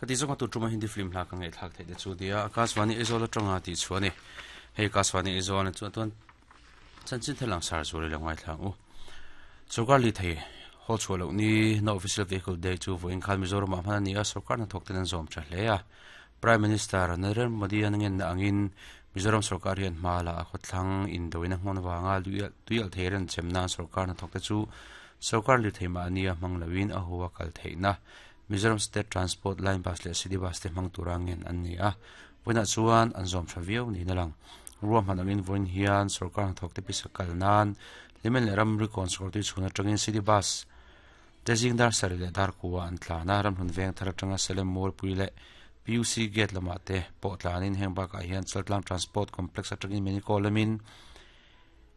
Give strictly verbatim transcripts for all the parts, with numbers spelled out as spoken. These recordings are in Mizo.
Kati zonga tu tuma Hindi film hla ka ngai thak thei te chu dia Akashvani Aizawl atanga ti chuani hei Akashvani Aizawl na chu tuan chanchin thelang sar zuri la ngai thlang u sarkar li thei hol chualo ni no official vehicle day chu voin khan Mizoram ah hman ani a sarkar na thok ten an zawm tha hle a Prime Minister Narendra Modi an ngen na angin Mizoram sarkar hian hma la a khawthlang indoina hmun wanga tuial theiran chemna sarkar na thok te chu sarkar li thei ma ania hmang lawin a huwa kal theina Mizoram State Transport Line Bus le City Bus te hmang turangin an ni a voina chuan an zawm tha viau ni na lang ruam han angin voin hian sarkar na thok te pisakal nan limen le ram rikon sarkar tu chhuna tangin City Bus tezing dar sari le dar kuwa an tlana ram hun veng thar atanga Salem Mall pui le P U C gate lama te pawh tlanin heng bakah hian Chaltlang Transport Complex atangin Menico lamin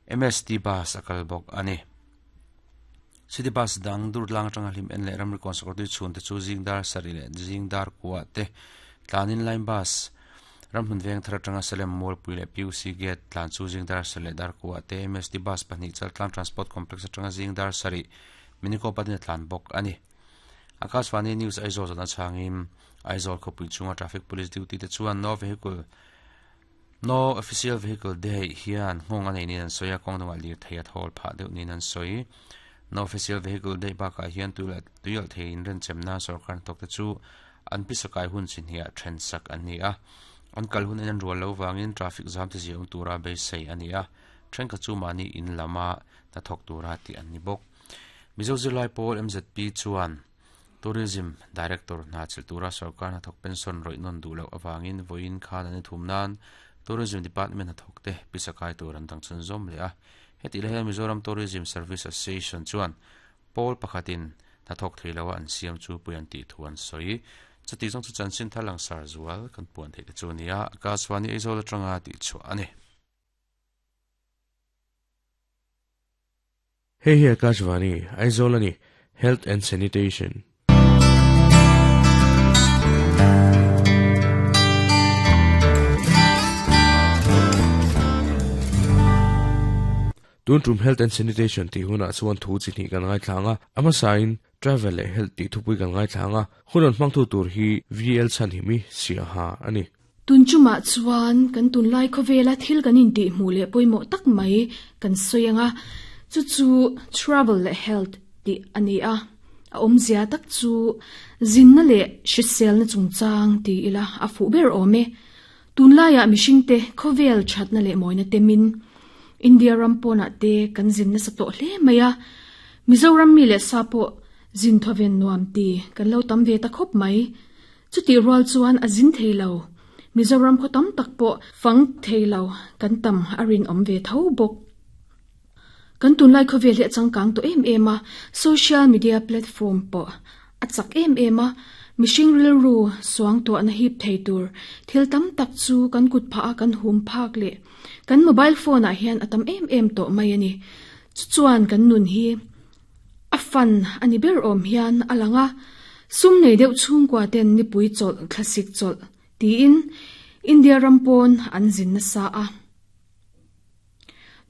M S T bus a kal bawk ani City Bus dang dur lang atanga hlim en le ram rikon sarkar tu chhun te chu zing dar sari le zing dar kuwa te tlanin line bus ram hun veng thar atanga Salem Mall pui le P U C gate tlan chu zing dar sari le dar kuwa te M S T bus pahnih Chaltlang Transport Complex atanga zing dar sari Menico patin tlan bawk ani Akashvani News Aizawl zana changin Aizawl khawpui chunga traffic police duty te chuan no vehicle no official vehicle day hian nghawng a nei nin an sawi a kawng dangah lir thei a thawl phah deuh nin an sawi no official vehicle day bakah hian tuial thei in ren chemna sarkar thawk te chu an pisakai hun chinhia then sak an ni a an kal hun en an rual lo wangin traffic jam te ziang tura beisei ani a then ka chu mani in lama na thawk tura ti an ni bawk Mizo Zirlai Pawl M Z P chuan Tourism Director na chiltura sarkar na thawk pension roi non du lo awangin voin khan ani thum nan Tourism Department na thawk te pisakai tur an dang chun zawm le a heti le Mizoram Tourism Service Association chuan pawl pakhatin na thawk thei lo an siam chu puian ti thu an sawi chati zawng chu chanchin thalang sar zual kan puan thei te chu nia Akashvani Aizawl atanga ti chu ani Hey hey Akashvani Aizawl ani Health and Sanitation Tun tum Health and Sanitation ti huna chuan thu chi ni kan ngai thlanga ama sign travel le health ti thupui kan ngai thlanga hunon hmang thu tur hi V L chan himi sia ha ani tun chuma chuan kan tun lai khawvela thil kan in ti hmu le poimo tak mai kan soyanga chu chu travel le health ti ani a a awmzia tak chu zinna le hrisel na chungchang ti ila a fu ber awm e tun laia mihring te khawvel thatna le mawina temin India rampona te kan zinna sa to hle maya Mizoram mi le sapo zin thoven nuam ti kan lo tam ve ta khop mai chuti rual chuan a zin theilo Mizoram kho tam tak po fang theilo kan tam arin om ve tho bok kan tun lai khawvel he changkang to em em a social media platform po a chak em em a mihring ril ru suang to na hip thei tur thil tam tak chu kan kut pha kan hum phak le kan mobile phone a hian atam em em to mai ani chu chuan kan nun hi a fan ani ber om hian alanga sum nei deuh chung kwa ten ni pui chol classic chol ti in India rampon an zin na sa a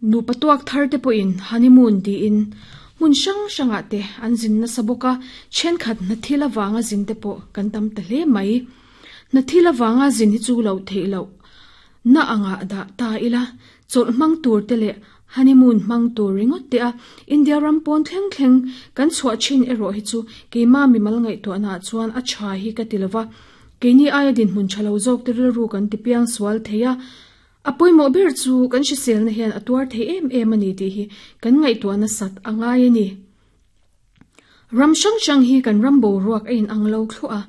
nu patuak thar te po in honeymoon ti in mun sang sanga te an zin na saboka chen khat na thila wanga zin te po kan tam ta hle mai na thila wanga zin hi chu lo thei lo na anga da ta ila chol mang tur te le honeymoon mang tur ringot te a India rampon thleng thleng kan chhuah chin ero hi chu keima mi mal ngai to na chuan a tha hi ka tilawa keini aya din mun thalo jok te ru kan ti piang sual theia apoi mo ber chu kan hrisel na hian atuar thei em em ani ti hi kan ngai to na sat angai ani ram sang sang hi kan rambo ruak ein anglo thua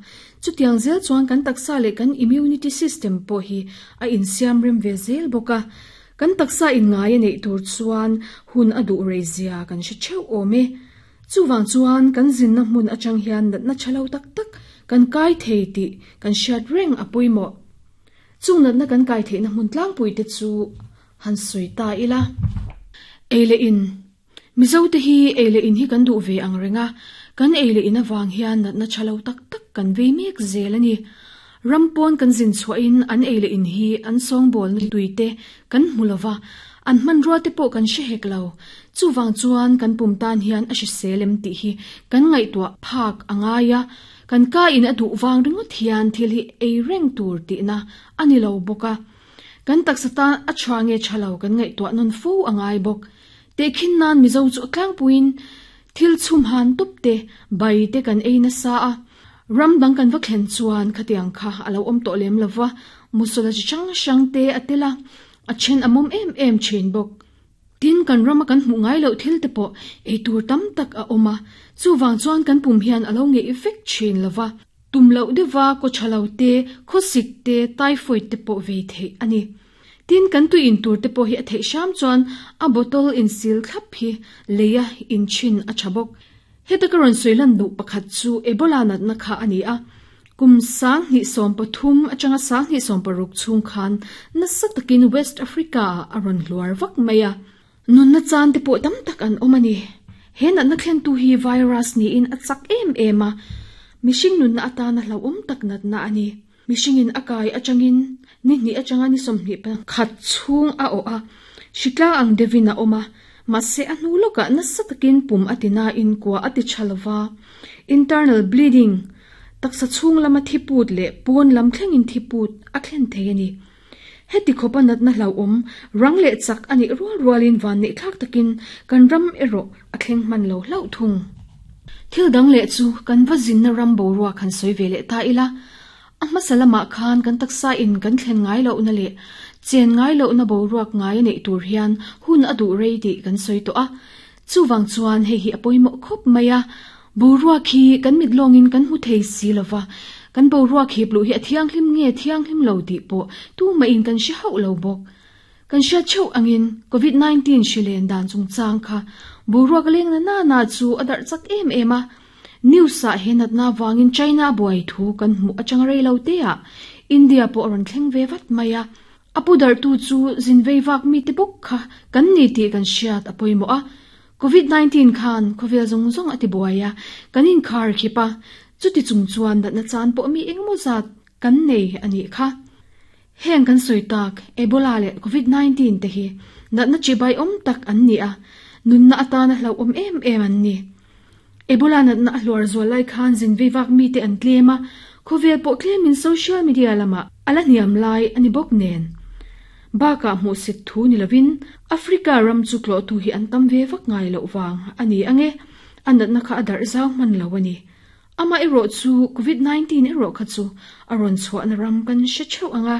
chutiang zel chuan kan taksa le kan immunity system po hi a in siam rem ve zel boka kan taksa in ngai nei tur chuan hun adu rezia kan hre cheu ome chuwang chuan kan zin na hmun achang hian na chalo tak tak kan kai thei ti kan hriat reng apoi mo chung nat na kan kai thei na hmun tlang pui te chu han sui ta ila eile in Mizo te hi eile in hi kan du ve ang renga kan eile in awang hian nat na chalo tak tak kan ve mek zel ani rampon kan zin chhuah in an eile in hi an song bol ni tuite kan hmulova an man ruwa te pawh kan hre hek lo chuwang chuan kan pum tan hian a hriselem tih hi kan ngaihtuah phak angaia Kan ka in adu wang ringot hian thil hi ei reng tur ti na ani lo boka. Kan taksata a chwange chalo kan ngai to non fu angai bok. Te khin nan mizo chu tlang puin thil chum han tup te bai te kan ei na sa a. Ram dang kan va khen chuan khatiang kha alo om to lem lova musula chi chang sang te atela a chen amom em em chen bok. Tin kan rama kan hmu ngai lo thil te po ei tur tam tak a oma chu wang chuan kan pum hian alo nge effect chen lova tum lo dewa ko chalo te khosik te typhoid te po ve the ani. Tin kan tu in tur te po hi a thei sham chuan a bottle in seal thlap hi leia in chin a chabok. Heta karon soilan du pakhat chu Ebola nat na kha ani a. Kum sang ni som pathum achanga sang ni som paruk chung khan na satakin West Africa aron hluar vak maya. Nun na chan te po tam tak an omani. He nat na thlen tu hi virus ni in achak em ema. Mishing nun na ata na hlau um tak nat na ani. Mishing in akai achangin ni ni achanga ni som ni pa khat chung a o a. Shikla ang devina oma. Mase anu loka na satakin pum atina in kwa ati chalwa. Internal bleeding. Taksa chung lama thiput le pon lam thleng in thiput a thlen theini. Heti khopa nat na hlau om rang le chak ani rual rualin van ni thlak takin kan ram ero a thleng man lo hlau thung. Thil dang le chu kan vazin na ram bo ruwa khan soi vele ta ila. Amma salama khan kan taksa in kan thlen ngai lo na le chen ngai lo na bo ruak ngai nei tur hian hun adu rei ti kan soi to a. Chu wang chuan he hi apoimo khop maya. Bo ruak hi kan mit longin kan hu thei si lova. Kan bo ruak hi blu hi athiang hlim nge thiang hlim lo ti po tu ma in kan shi hau lo bok. Kan sha cheu angin covid nineteen shilen dan chung chang kha bo ruak leng na na na chu adar chak em ema. News sa henat na wangin China boy thu kan mu achang rei lo te a. India po ron thleng ve vat maya. Apu dar tu chu zin vei wak mi te bok kha kan ni ti kan shiat apoimo a. covid nineteen khan khovel zong zong ati boya kanin khar khipa chuti chung chuan dat na chan po mi engmo zat kan nei ani kha. Heng kan soitak Ebola le covid nineteen te hi nat na chibai om tak an ni a. Nun na atana hlau om em em an ni. Ebola nat na hlor zolai khan zin vei wak mi te an tlema khovel po tlemin social media lama ala niam lai ani bok nen. Baka mu sit thu ni lovin Africa ram chu klo tu hi an tam ve vak ngai lo wang ani ange anat na kha adar zau man lo ani. Ama ero chu covid nineteen ero kha chu aron chu an ram kan she cheu anga.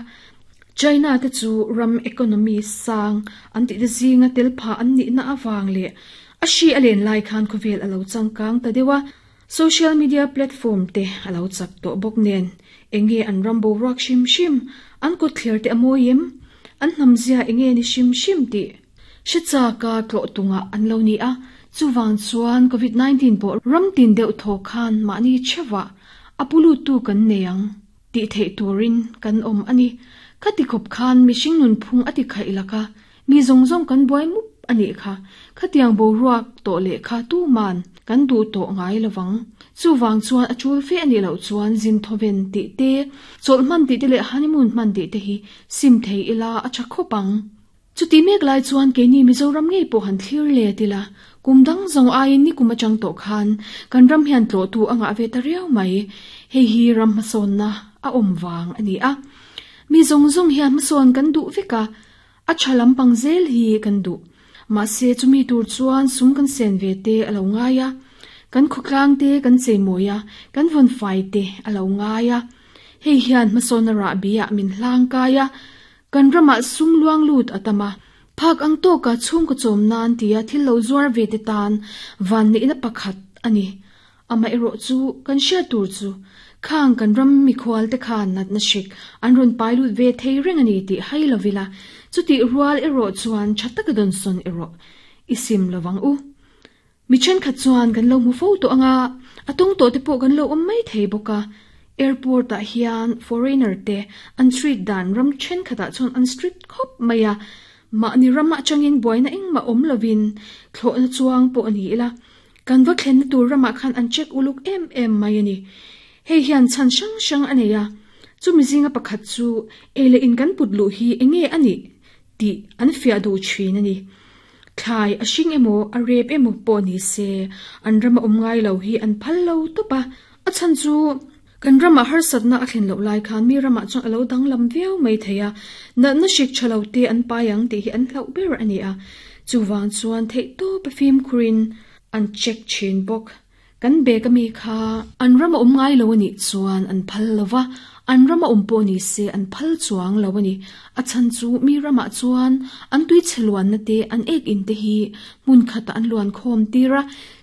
China te chu ram economy sang an ti de zinga tel pha an ni na awang le a shi alen lai khan khovel alo changkang ta dewa. Social media platform te alo chak to bok nen enge an rambo rak shim shim an ko clear te amoyem an namzia enge ni shim shim ti shicha ka tlo tunga an lo ni a. Chuwang chuan covid nineteen po ram tin deuh tho khan ma ni chewa apulu tu kan neyang ti thei turin kan om ani. Khati khop khan mi sing nun phung ati khai laka mi zong zong kan boi mup ani kha. Khatiang bo ruak to le kha tu man kan du to ngai lawang. Chuwang chuan achul fe ani lo chuan zin thoven ti te chol man ti te le honeymoon man ti te hi sim thei ila acha khopang. Chuti mek lai chuan ke ni Mizoram nge po han thlir le tila kumdang zong ai ni kuma chang to khan kan ram hian tlo tu anga ve ta riau mai. He hi ram mason na a om wang ani a. Mi zong zong hian mason kan du veka a chalam pangzel hi kan du. Ma se chumi tur chuan sum kan sen ve te alo ngaya. Kan khuklang te kan cheimoya kan von fai te alo ngaya. Hei hian mason ra bia min hlang kaya. Kan rama sum luang lut atama phak ang to ka chung ko chom nan tia thil lo zuar ve te tan van ni na pakhat ani. Ama ero chu kan sha tur chu khang kan ram mi khwal te khan nat na shik an ron pailut ve thei reng ani ti hai lovila chuti rual ero chuan chatak don son ero isim lawang u. Mi chen khat chuan kan lo mu fo to anga atong to te po kan lo om mai thei boka. Airport a hian foreigner te an street dan ram chen khata chuan an street khop maya. Ma ni rama changin boina eng ma om lovin thlo na chuang po ani ila. Kan va thlen na tur rama khan an check uluk em em mai ani. Hei hian chan sang sang aneya. Chu mi zinga pakhat chu ele in kan put lu hi enge ani ti an fia du thin ani. Thlai a hring emaw a rep emaw pawh ni se an rama awm ngai lo hi an phal lo tawp a. A chan chu kan rama har satna a thlen lo lai khan mi rama chuan alo danglam viau mai theia na na shik chalo te an payang te hi an hlau ber ani a chuwang chuan thei to pa fim khurin an check chin bok kan be ka mi kha an rama um ngai lo ani chuan an phal lova an rama um po ni se an phal chuang lo ani a chan chu mi rama chuan an tui cheluan na te an ek in te hi mun khata an luan khom tira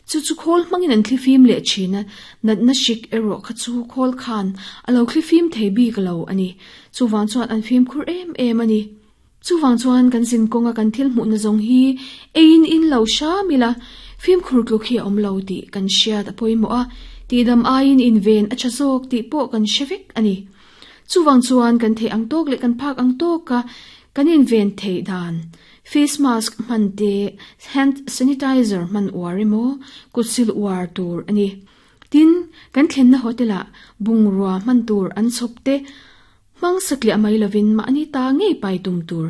chu chu khol mangin an thlifim le china nat na shik ero kha chu khol khan alo thlifim thei bi kalo ani chuwang chuan an fim khur em em ani chuwang chuan kan sin konga kan thil mu na zong hi ein in lo sha mila fim khur klu khi om lo ti kan shia ta poimo a ti dam ain in ven a chazok ti po kan shevek ani chuwang chuan kan thei ang tok le kan phak ang tok ka kan in ven thei dan face mask man te hand sanitizer man warimo kutsil war tur ani tin kan thlen na hotela bungrua man tur an chop te mang sakli amai lovin ma ani ta ngei pai tum tur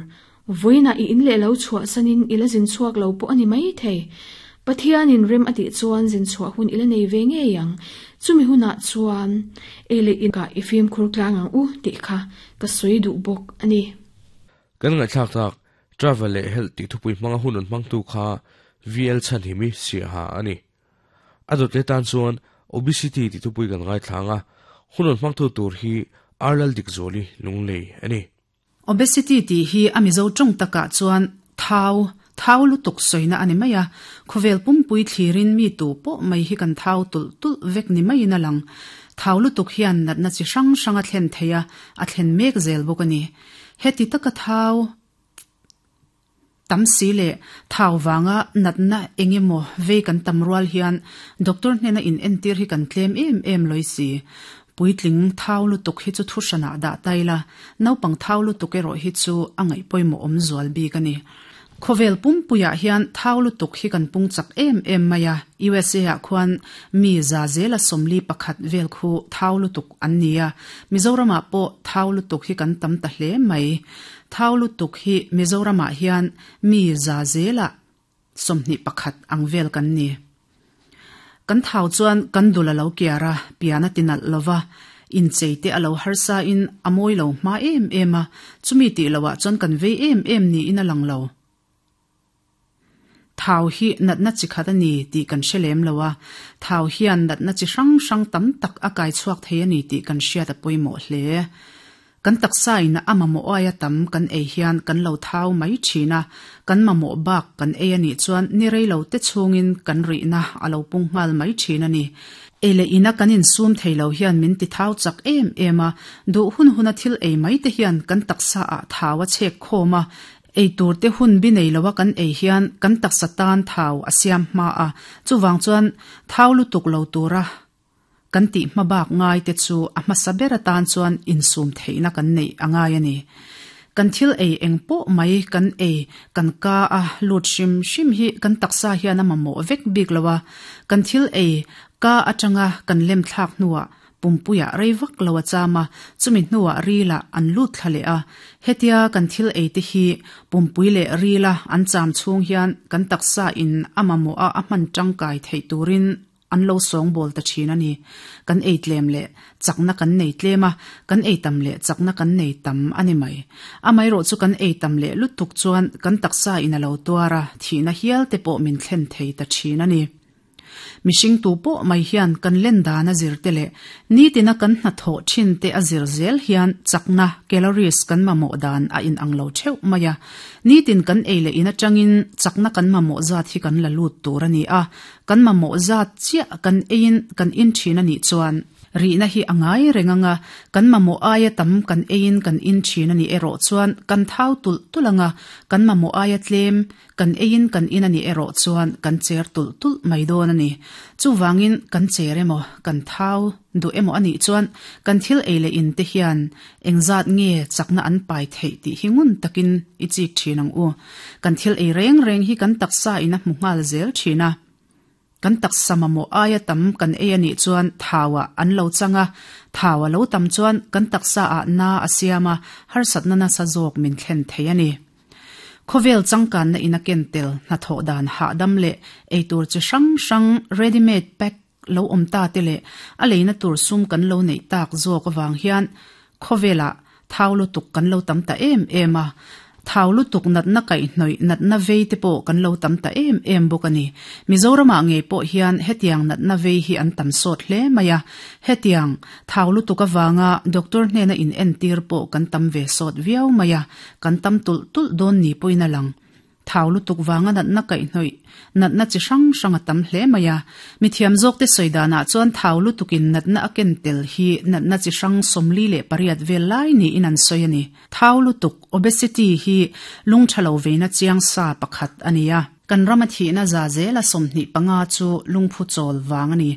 voina i in le lo chhuwa sanin ilazin chuak lo po ani mai thei Pathian in rem ati chuan zin chhuwa hun ila nei ve nge yang chumi huna chuan ele in ka ifim khur tlang ang u ti kha ka soi du bok ani kan nga thlak tak travel le health ti thupui manga hunun mangtu kha V L chan himi sia ha ani adot le tan chuan obesity ti thupui kan ngai thlanga hunun mangtu tur hi arlal dik zoli lunglei ani obesity ti hi amizo tong taka chuan thau thau lu tuk soina ani maya khovel pumpui thlirin mi tu po mai hi kan thau tul tul vek ni mai na lang thau lu tuk hian nat na chi sang sanga thlen theya a thlen mek zel bokani heti taka thau tam si le thau wanga natna engemo ve kan tamrual hian doctor hnena in entir hi kan tlem em em loisi puitling thau lu tuk hi chu thushana da taila naupang thau lu tuk ero hi chu angai poimo om zual bi kani khovel pumpuya hian thau lu tuk hi kan pung chak em em maya U S A a khuan mi za zela somli pakhat vel khu thau lu tuk an nia Mizorama po thau lu tuk hi kan tam ta hle mai thau lu tuk hi Mizorama hian mi za zela somni pakhat ang vel kan ni kan thau chuan kan dula lo kiara piana tinal lova in cheite alo harsa in amoi lo ma em ema chumi ti lowa chuan kan ve em em ni in alang lo thau hi nat na chi khat ani ti kan shelem lowa thau hian nat na chi sang sang tam tak akai chuak thei ani ti kan hria ta poimo hle kan taksa ina amamo aya tam kan ei hian kan lo thau mai thina kan mamo bak kan ei ani chuan ni reilo te chungin kan ri na alo pung ngal mai thina ni ele ina kanin sum theilo hian min ti thau chak em ema du hun huna thil ei mai te hian kan taksa a thawa chek khoma ei tur te hun bi nei lowa kan ei hian kan taksa tan thau asiam ma a chuwang chuan thau lu tuk lo tura kan ti mabak ngai te chu a hmasa tan chuan insum theina kan nei angai ani kan thil ei engpo mai kan ei kan ka a lut shim shim hi kan taksa hian a mamo vek bik lowa kan thil ei ka atanga kan lem thlak nuwa pumpuya reivak lowa chama chumi hnuwa rila an lut thlale a hetia kan thil ei te hi pumpui le rila an cham chung hian kan taksa in amamo a a hman tangkai thei turin an lo song bol ta thina ni kan ei tlem le chakna kan nei tlema kan ei tam le chakna kan nei tam ani mai amai ro chu kan ei tam le lutuk chuan kan taksa in alo tuara thina hial te po min thlen thei ta thina ni mishing tu po mai hian kan len dana zir te le ni tina kan hna tho thin te azir zel hian chakna calories kan mamo dan a in ang lo theu maya ni tin kan ei le ina changin chakna kan mamo zat hi kan la lut tur ani a kan mamo zat chia kan ein kan in thina ni chuan ri na hi angai renganga kan mamo aya tam kan ein kan in thina ni ero chuan kan thau tul tulanga kan mamo aya tlem kan ein kan in ani ero chuan kan cher tul tul mai don ani chuwangin kan cheremo kan thau du emo ani chuan kan thil eile in te hian engzat nge chakna an pai thei ti hingun takin ichi thinang u kan thil ei reng reng hi kan taksa ina hmungal zel thina kan taksa mamo aya tam kan ei ani chuan thawa an lo changa thawa lo tam chuan kan taksa a na asiama har satna na sa jok min thlen thei ani khovel changkan na ina kentel na tho dan ha dam le ei tur chi sang sang ready made pack lo om ta te le a leina tur sum kan lo nei tak zawk awang hian khawvela thau lu tuk kan lo tam ta em em a thau lu tuk nat na kai hnoi nat na vei te po kan lo tam ta em em bawk ani Mizorama nge pawh hian hetiang nat na vei hi an tam sawt hle maya hetiang thau lu tuk awanga doctor hnena in en tir pawh kan tam ve sawt viau maya kan tam tul tul dawn ni poina lang thau lu tuk wanga nat na kai hnoi nat na chi hrang hrang a tam hle maya mi thiam zawk te soidana chuan thau lu tukin nat na aken tel hi nat na chi hrang somli le pariat vel lai ni in an soi ani thau lu tuk obesity hi lung thalo ve na chiang sa pakhat ania kan rama thi na za zela somni panga chu lungphu chol wang ani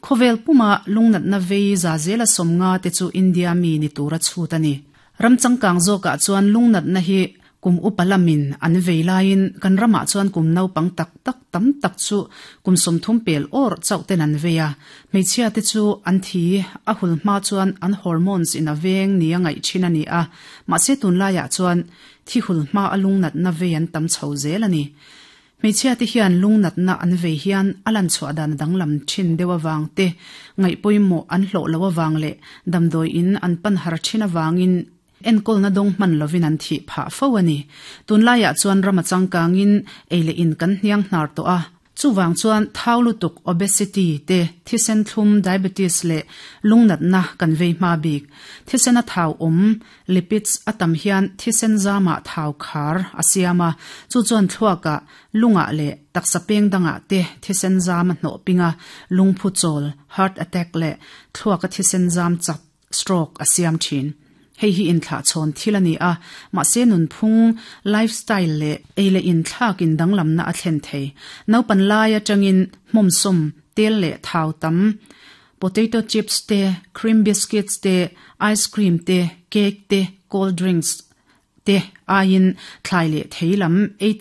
khovel puma lungnat na vei za zela somnga te chu India mi ni tura chhut ani ramchangkang zoka chuan lungnat na hi kum upalamin an veilain kan rama chuan kum nau pang tak tak tam tak chu kum som thum pel or chauten an veia hmeichhia te chu an thi a hul hma chuan an hormones in a veng ni a ngai thin ani a mahse tun laiah chuan thi hul hma alung nat na vei an tam chho zel ani hmeichhia te hian lung nat na an vei hian alan chhuah dan danglam thin deuh awang te ngai pawimawh an hlawh lo awang leh damdawi in an pan har thin awangin enkol na dong man lovin an thi pha fo ani tunlaiah chuan rama changkangin eile in kan hniang hnar to a chuwang chuan thau tuk obesity te thisen thlum diabetes le lungnat na kan vei ma bik thisen a thau om lipids atam hian thisen zama thau khar asiama chu chuan thluaka lunga le taksa peng danga te thisen zama hno pinga lungphu chol heart attack le thluaka thisen zam chak stroke asiam thin hei hi in thla chon thilani a ma se nun phung lifestyle le eile in thlak in danglam na a thlen thei no pan lai atangin hmom som tel le thau tam potato chips te cream biscuits te ice cream te cake te cold drinks te ain thlai le theilam ei tam